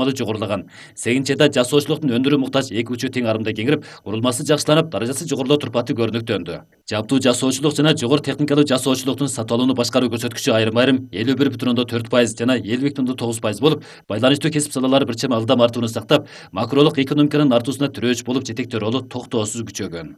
жогорулаган. 8 айда жасоочулуктун өндүрүү муктаж эки учу тең арымда кеңирип, курулмасы жакшыланып, даражасы жогорулоо турпаты көрүнүктөндү. Жаптуу жасоочулук жана жогору техникалуу жасоочулуктун сатып алууну башкаруу көрсөткүчү айрым-айрым 51,4% жана 50,9% болуп, байланыштуу кесип салалары бир чам ылдам артууну сактап, макролук экономиканын артуусуна тирөөч болуп жетектөө ролу токтоосуз күчөгөн.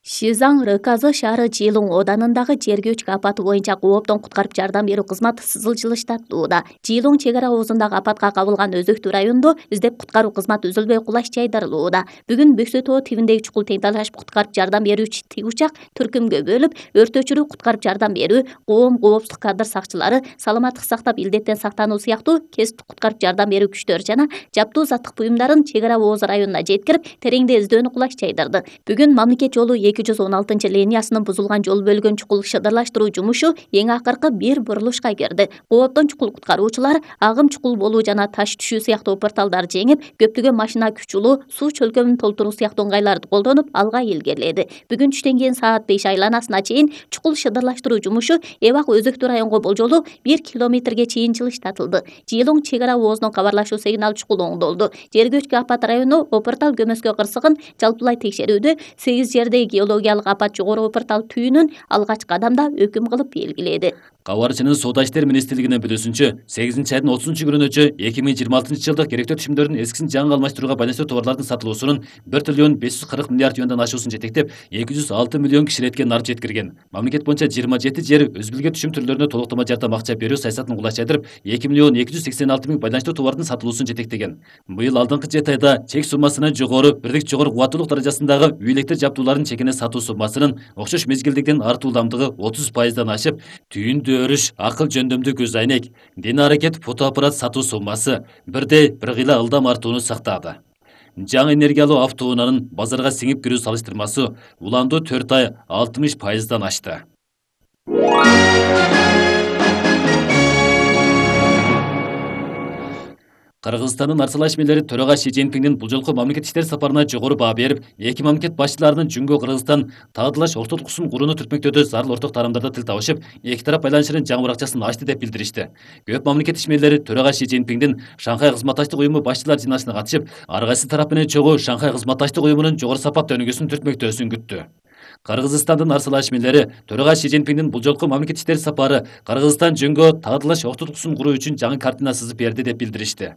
Шизаң РКЗ шаары Жылуң оданындагы жер көчкү апаты боюнча кооптон куткарып жардам берүү кызматы сызылчылыштатууда. Жылуң чек ара оозундагы апатка кабылган Өзөктүү районунда издеп куткаруу кызматы үзүлбөй кулаш жайдырылууда. Бүгүн Бөксө тоо тибиндеги чукул тең талашып куткарып жардам берүүчү тигучак түркүмгө бөлүп, өрт өчүрүү, куткарып жардам берүү, коопсуздук кадр сакчылары, саламаттык сактап илдеттен сактануу сыяктуу кесиптик куткарып жардам берүү күчтөрү жана жаптуу заттык буюмдарын чек ара ооз районуна жеткирип, тереңде издөөнү кулаш жайдырды. Бүгүн мамлекет жолу 216 линиясынын бузулган жол бөлгөн чукул шыдырлаштыруу жумушу эң акыркы бир бурулушка кирди. Кооптон чукул куткаруучулар агым чукул болуу жана таш түшүү сыяктуу порталдарды жеңип, көптөгөн машина күчүлүү суу чөлкөмүн толтуруу сыяктуу ыңгайларды колдонуп, алга илгериледи. Бүгүн түштөн кийин саат 5 айланасына чейин чукул шыдырлаштыруу жумушу Эбак Өзөктүү районго болжолу 1 километрге чейин жылыштатылды. Жылуң чек ара оозунун кабарлашуу сигнал чукул оңдолду. Жер көчкү апат району Опортал көмөскө кырсыгын жалпылай текшерүүдө 8 жердеги геологиялык апат жогору Опортал түйүнүн алгачкы кадамда өкүм кылып белгиледи. Кабарчынын Соода иштер министрлигинин билүүсүнчө, 8 айдын 30-күнүнчө 2026 жылдык керектөө түшүмдөрдүн эскисин жаңы алмаштырууга байланыштуу товарлардын сатылуусунун 1 триллион 540 миллиард юандан ашуусун жетектеп, 206 миллион кишилетке нар жеткирген. Мамлекет боюнча 27 жер өз билген түшүм түрлөрүнө толуктама жардам акча берүү саясатын кулаш жайдырып, 2 миллион 286 миң байланыштуу товардын сатылуусун жетектеген. Быйыл алдыңкы 7 айда чек суммасынан жогору, бирдик жогору кубаттуулук даражасындагы үй электр жабдууларын чекине сатуу суммасынын окшош мезгилдикten артуу ылдамдыгы 30%дан ашып, түйүндү өрүш, акыл жөндөмдүү көз айнек, дене аракет фотоаппарат сатуу суммасы бирдей бир кыйла ылдам артууну сактады. Жаңы энергиялуу автоунаанын базарга сиңип кирүү салыштырмасы уланду 4 ай 60%дан ашты. Кыргызстандын Арсал Ашмелери төрага Си Цзиньпиндин бул жолку мамлекет иштер сапарына жогору баа берип, эки мамлекет башчыларынын Жүнгө Кыргызстан таадылаш ортолуксун курууну түртмөктөөдө зарыл орток таарамдарда тил табышып, эки тарап байланышынын жаңы уракчасын ачты деп билдиришти. Көп мамлекет ишмерлери төрага Си Цзиньпиндин Шанхай кызматташтык уюму башчылар жыйналышына катышып, ар кайсы тарап менен чогуу Шанхай кызматташтык уюмунун жогору сапаттуу өнүгүүсүн түртмөктөөсүн күттү. Кыргызстандын Арсал Ашмелери төрага Си Цзиньпиндин бул жолку мамлекет иштер сапары Кыргызстан Жүнгө таадылаш ортолуксун куруу үчүн жаңы картина сызып берди деп билдиришти.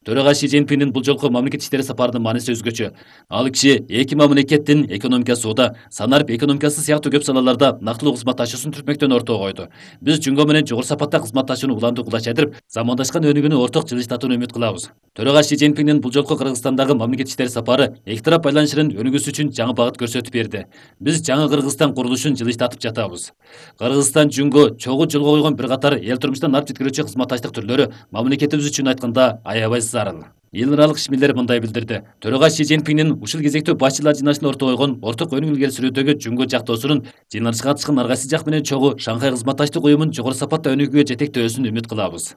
Төрага Си Цзиньпиндин бул жолку мамлекет иштери сапарынын мааниси өзгөчө. Ал киши эки мамлекеттин экономика сууда, санарып экономикасы сыяктуу көп салаларда нактылуу кызматташуусун түртмөктөн ортого койду. Биз Жүнгө менен жогору сапатта кызматташууну уланду кулаш жайдырып, замандашкан өнүгүүнү орток жылыштатууну үмүт кылабыз. Төрага Си Цзиньпиндин бул жолку Кыргызстандагы мамлекет иштери сапары эки тарап байланышынын өнүгүүсү үчүн жаңы багыт көрсөтүп берди. Биз жаңы Кыргызстан курулушун жылыштатып жатабыз. Кыргызстан Жүнгө чогуу жолго койгон бир катар эл турмушунан алып жеткирүүчү кызматташтык түрлөрү мамлекетибиз үчүн айтканда аябай зарыл. Эл аралык ишмерлер мындай билдирди. Төрага Си Цзиньпиндин ушул кезектөө башчылар жыйналышына ортого койгон орток өнүгүү илгери сүрүүдөгү Жүнгө жактоосунун жыйналышка катышкан ар кайсы жак менен чогуу Шанхай кызматташтык уюмун жогору сапатта өнүгүүгө жетектөөсүн үмүт кылабыз.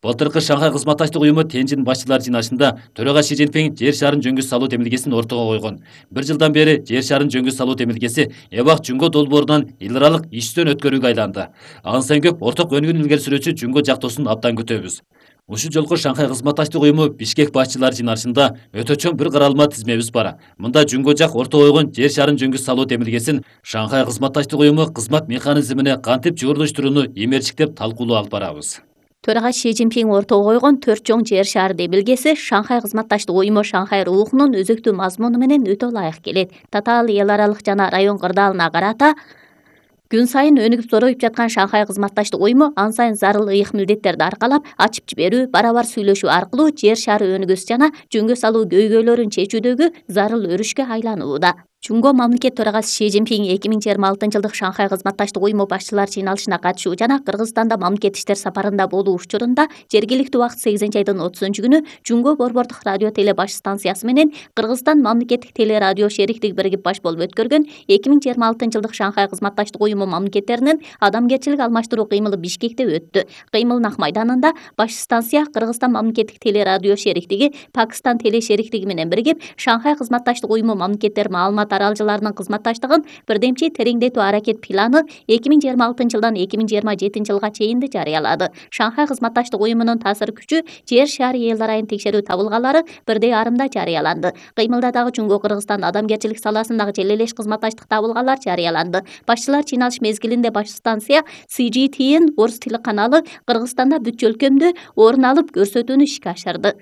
Былтыркы Шанхай кызматташтык уюму Тенжин башчылар жыйналышында төрага Си Цзиньпин жер шарын жөнгө салуу демилгесин ортого койгон. Бир жылдан бери жер шарын жөнгө салуу демилгеси Эбак Жүнгө долбоорунан эл аралык иштөө өткөрүүгө айланды. Ан сайын көп орток өнүгүүнү илгери сүрүүчү Жүнгө жактоосун абдан күтөбүз. Ушул жолку Шанхай кызматташтык уюму Бишкек башчылар жыйналышында өтө чоң бир каралма тизмебиз бар. Мында Жүнгө жак ортого койгон жер шарын жөнгө салуу демилгесин Шанхай кызматташтык уюму кызмат механизмине кантип жуурдуштурууну эмерчиктеп талкуулоо алып барабыз. Төрага Си Цзиньпин ортого койгон 4 чоң жер шары демилгеси Шанхай кызматташтык уюму Шанхай рухунун өзөктүү мазмуну менен өтө ылайык келет. Татаал эл аралык жана район кырдаалына карата күн сайын өнүгүп зороюп жаткан Шанхай кызматташтык уюму ан сайын зарыл ыйык милдеттерди аркалап, ачып жиберүү, барабар сүйлөшүү аркылуу жер шары өнүгүүсү жана жөнгө салуу көйгөйлөрүн чечүүдөгү зарыл өрүшкө айланууда. Жүнгө мамлекет төрагасы Си Цзиньпин 2026 жылдык Шанхай кызматташтык уюму башчылар жыйналышына катышуу жана Кыргызстанда мамлекет иштер сапарында болуу учурунда жергиликтүү убакыт 8 айдын 30-күнү Жүнгө борбордук радио теле баш станциясы менен Кыргызстан мамлекеттик теле радио шериктиги биригип баш болуп өткөргөн 2026 жылдык Шанхай кызматташтык уюму мамлекеттеринин адамгерчилик алмаштыруу кыймылы Бишкекте өттү. Кыймылдын ак майданында баш станция Кыргызстан мамлекеттик теле радио шериктиги Пакистан теле шериктиги менен биригип Шанхай кызматташтык уюму мамлекеттер маалымат маалымат аралжыларынын кызматташтыгын бирдемчи тереңдетүү аракет планы 2026 жылдан 2027 жылга чейин жарыялады. Шанхай кызматташтык уюмунун таасир күчү жер шаары эл арайын текшерүү табылгалары 1,5 жарыяланды. Кыймылдадагы Жөнгө Кыргызстан адамгерчилик саласындагы желелеш кызматташтык табылгалар жарыяланды. Башчылар чыйналыш мезгилинде баш станция CGTN орус тили каналы Кыргызстанда бүт өлкөмдө орун алып көрсөтүүнү ишке ашырды.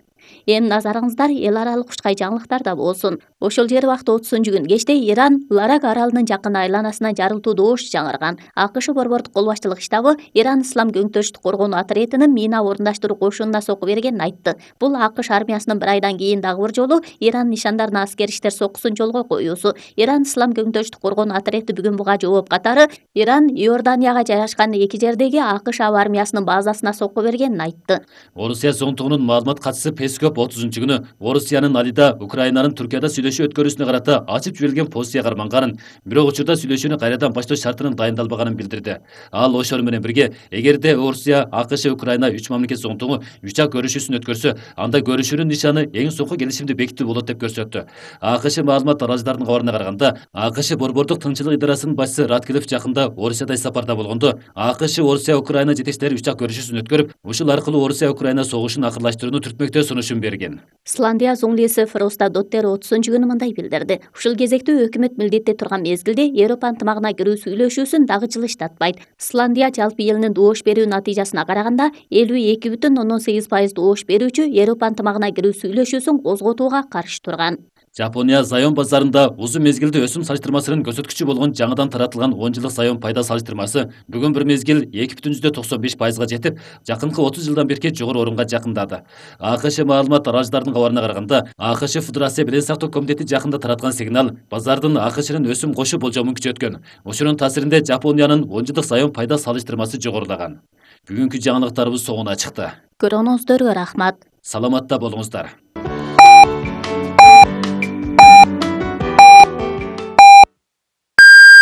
Эми назарыңыздар эл аралык ушкай жаңылыктарда болсун. Ошол жер убакыт 30-күн кечте Иран Ларак аралынын жакын айланасынан жарылтуу добуш жаңырган. АКШ борбордук кол башчылык штабы Иран Ислам көңтөрүштүк коргонуу отрядынын мина орундаштыруу кошунуна сокку бергенин айтты. Бул АКШ армиясынын 1 айдан кийин дагы бир жолу Иран нишандарына аскер иштер соккусун жолго коюусу. Иран Ислам көңтөрүштүк коргонуу отряды бүгүн буга жооп катары Иран Иорданияга жайгашкан 2 жердеги АКШ аба армиясынын базасына сокку бергенин айтты. Орусия соңтугунун маалымат катчысы Песков 30-күнү Орусиянын Алида Украинанын Түркияда сүйлөшүү өткөрүүсүнө карата ачып жиберилген постия карманганын, бирок учурда сүйлөшүүнү кайрадан баштоо шартынын дайындалбаганын билдирди. Ал ошол менен бирге, эгерде Орусия, АКШ, Украина 3 мамлекет соңтугу үчак көрүшүүсүн өткөрсө, анда көрүшүүнүн нишаны эң соңку келишимди бекитүү болот деп көрсөттү. АКШ маалымат аралжыларынын кабарына караганда, АКШ борбордук тынччылык идарасынын башчысы Радклифф жакында Орусияда сапарда болгондо, АКШ Орусия, Украина жетекчилери үчак көрүшүүсүн өткөрүп, ушул аркылуу Орусия, Украина согушун акырлаштырууну түртмөктөө сунушун берген. Исландия зуңлиси Фроста Доттер 30-күнү мындай билдирди. Ушул кезекте өкмөт милдетте турган мезгилде Европа ынтымагына кирүү сүйлөшүүсүн дагы жылыштатпайт. Исландия жалпы элинин добуш берүү натыйжасына караганда 52,8% добуш берүүчү Европа ынтымагына кирүү сүйлөшүүсүн козготууга каршы турган. Жапония заем базарында узун мезгилде өсүм салыштырмасынын көрсөткүчү болгон жаңыдан таратылган 10 жылдык заем пайда салыштырмасы бүгүн бір мезгил 2,95%га жетип, жакынкы 30 жылдан берки жогору орунга жакындады. АКШ маалымат аралжыларынын кабарына караганда, АКШ Федерация билим сактоо комитети жакында тараткан сигнал базардын АКШнын өсүм кошуу болжомун күчөткөн. Ошонун таасиринде Жапониянын 10 жылдык заем пайда салыштырмасы жогорулаган. Бүгүнкү жаңылыктарыбыз соңуна чыкты. Көргөнүңүздөргө рахмат. Саламатта болуңуздар.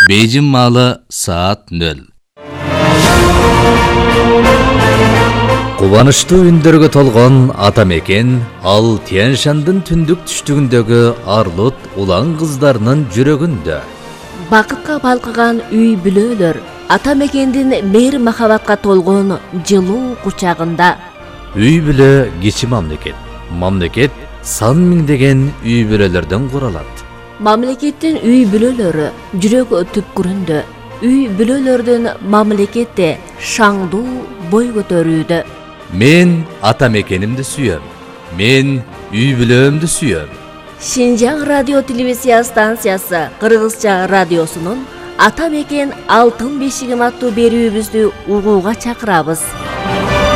Бейжин маалы саат 0. Кубанычтуу үндөргө толгон ата мекен ал Тянь-Шандын түндүк түштүгүндөгү Арлут улан кыздарынын жүрөгүндө. Бакытка балкыган үй бүлөлөр ата мекендин мейир махабатка толгон жылуу кучагында. Үй бүлө кичи мамлекет. Мамлекет сан миңдеген үй бүлөлөрдөн куралат. Мамлекеттин үй бүлөлөрү жүрөк түпкүрүндө. Үй бүлөлөрдүн мамлекетте шаңдуу бой көтөрүүдө. Мен ата мекенимди сүйөм. Мен үй бүлөмдү сүйөм. Шинжаң радио телевизия станциясы Кыргызча радиосунун Ата мекен алтын бешигим аттуу берүүбүздү угууга чакырабыз.